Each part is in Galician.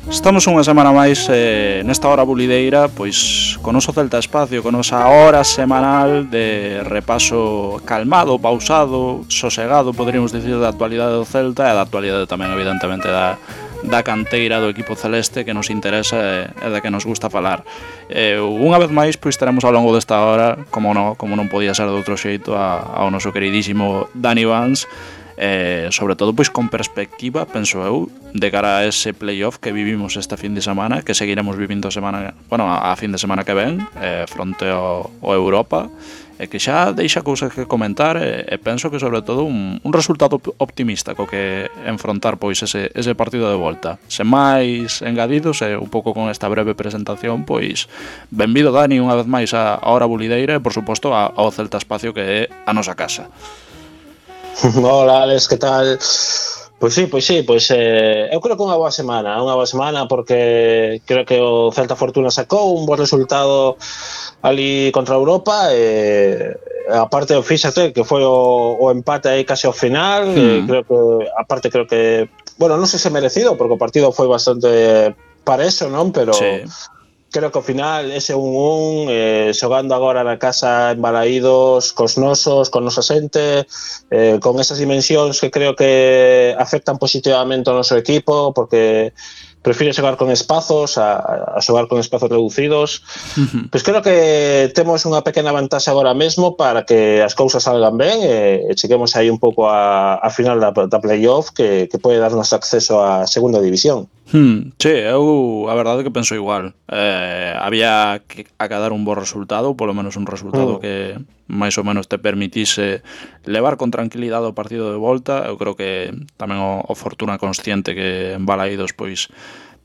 Estamos unha semana máis nesta hora bulideira, pois con noso Celta Espacio, con nosa hora semanal de repaso calmado, pausado, sosegado, poderíamos dicir, da actualidade do Celta e da actualidade tamén, evidentemente, da canteira do equipo celeste que nos interesa e da que nos gusta falar. Unha vez máis, pois teremos ao longo desta hora, como non podía ser de outro xeito, ao noso queridísimo Dani Vance, sobre todo pois con perspectiva, penso eu, de cara a ese playoff que vivimos esta fin de semana, que seguiremos vivindo a fin de semana que ven, fronte ao Europa, e que xa deixa cousas que comentar, e penso que sobre todo un resultado optimista co que enfrontar pois ese partido de volta. Sen máis engadidos, e un pouco con esta breve presentación, pois benvido Dani unha vez máis a hora bulideira e por suposto ao Celta Espacio, que é a nosa casa. Hola Alex, que tal? Pois sí, eu creo que unha boa semana porque creo que o Celta Fortuna sacou un bo resultado ali contra a Europa, aparte, fíxate que foi o empate aí case ao final, creo que, bueno, non sei se merecido, porque o partido foi bastante parexo, non? Pero sí, creo que ao final ese 1-1, xogando agora na casa en Balaídos, cos nosos, con nosa xente, con esas dimensións que creo que afectan positivamente ao noso equipo, porque prefire xogar con espazos a xogar con espazos reducidos. Pois creo que temos unha pequena vantaxe agora mesmo para que as cousas salgan ben e cheguemos aí un pouco a final da playoff que pode darnos acceso á segunda división. Sí, eu a verdade que penso igual. Había que acadar un bo resultado, polo menos un resultado que máis ou menos te permitise levar con tranquilidade o partido de volta. Eu creo que tamén o Fortuna consciente que en Balaídos pois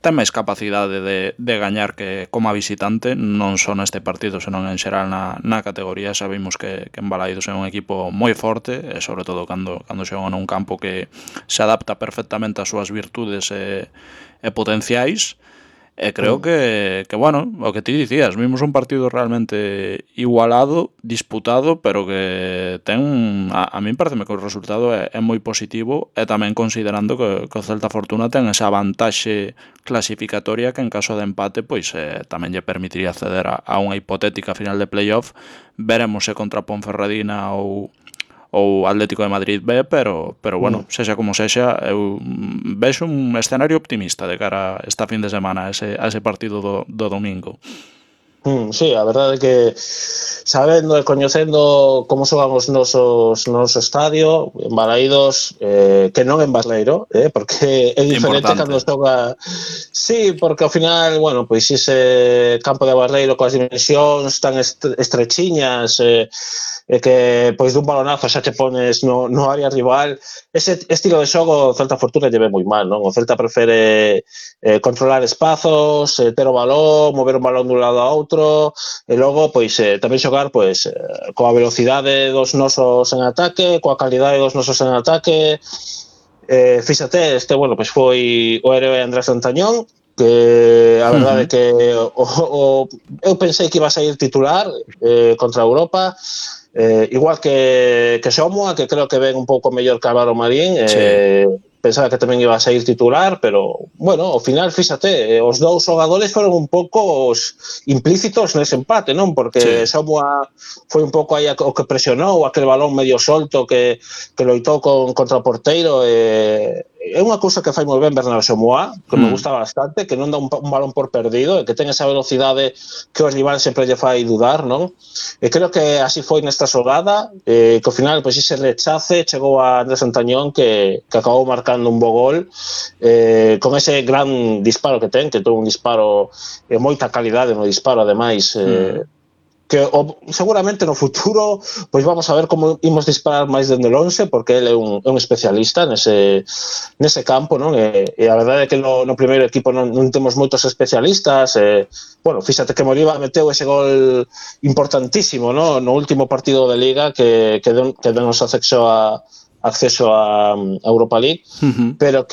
ten máis capacidade de gañar que como visitante, non só neste partido, senón en xeral na categoría. Sabemos que en Balaídos é un equipo moi forte, e sobre todo cando xogan nun campo que se adapta perfectamente ás súas virtudes e potenciais. E creo que bueno, o que ti dicías, vimos un partido realmente igualado, disputado, pero que ten, a min pareceme que o resultado é moi positivo, e tamén considerando que o Celta Fortuna ten esa vantaxe clasificatoria que en caso de empate pois tamén lle permitiría acceder a unha hipotética final de playoff. Veremos se contra Ponferradina ou Atlético de Madrid B, pero bueno, sexa como sexa, eu vexo un escenario optimista de cara a esta fin de semana, a ese partido do domingo. Sí, a verdade é que sabendo e coñecendo como xogan os nosos no noso estadio en Balaídos, que non en Barleiro, porque é diferente cando xoga. Sí, porque ao final, bueno, pois ese campo de Barleiro coas dimensións tan estrechiñas, e que pois dun balonazo xa te pones no área rival, ese estilo de xogo o Celta Fortuna lle ve moi mal, non? O Celta prefere controlar espazos, ter o balón, mover o balón dun lado a outro, e logo pois tamén xogar pois coa velocidade dos nosos en ataque, coa calidade dos nosos en ataque. Fíxate, bueno, pois foi o héroe Andrés Lantañón, que a verdade é que eu pensei que iba a sair titular contra a Europa, igual que Somoa, que creo que ven un pouco mellor que Álvaro Marín. Pensaba que tamén iba a sair titular, pero, bueno, ao final, fíxate, os dous xogadores foron un pouco implícitos nese empate, non? Porque Somoa foi un pouco aí o que presionou, aquel balón medio solto que loitou contra o porteiro. É unha cousa que fai moi ben Bernardo Somoa, que me gusta bastante, que non dá un balón por perdido, e que ten esa velocidade que o rival sempre lle fai dudar, non? E creo que así foi nesta xogada, que ao final, pois, ese rechace chegou a Andrés Antañón, que acabou marcando un bo gol, con ese gran disparo que ten, que ten un disparo e moita calidade no disparo, ademais, que seguramente no futuro pois vamos a ver como imos disparar máis dende o 11, porque ele é un especialista nese campo, non? E a verdade é que no primeiro equipo non temos moitos especialistas. Bueno, fíxate que Moriba meteu ese gol importantísimo, non? No último partido de Liga que denos acceso a Europa League, pero que